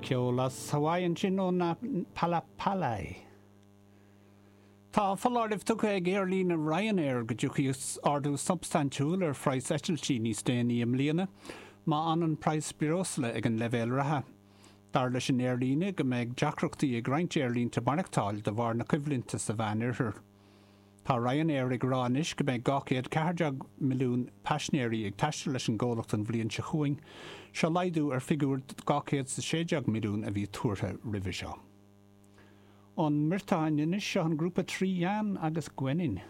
Ceol as Hawaii ansin ó na Palapalai. Tá foláireamh tugtha ag aerlíne Ryanair go dtiocfaidh ardú substaintiúil ar phraghas eitiltí níos déanaí i mbliana má fhanann praghas breosla ag an leibhéal reatha. Dar leis an aerlíne go mbeidh deacrachtaí ag roinnt aerlínte maireachtáil de bharr na coimhlinte sa Mheánoirthear. Tá Ryanair ag rá anois go mbeidh 214 milliún paisnéirí ag taisteal leis an gcomhlacht an bhliain seo chugainn, seo laghdú ar figiúr 216 milliún a bhí tuartha roimhe seo. Ón mBriotáin anois, seo an grúpa Tri Yann agus Gwennin.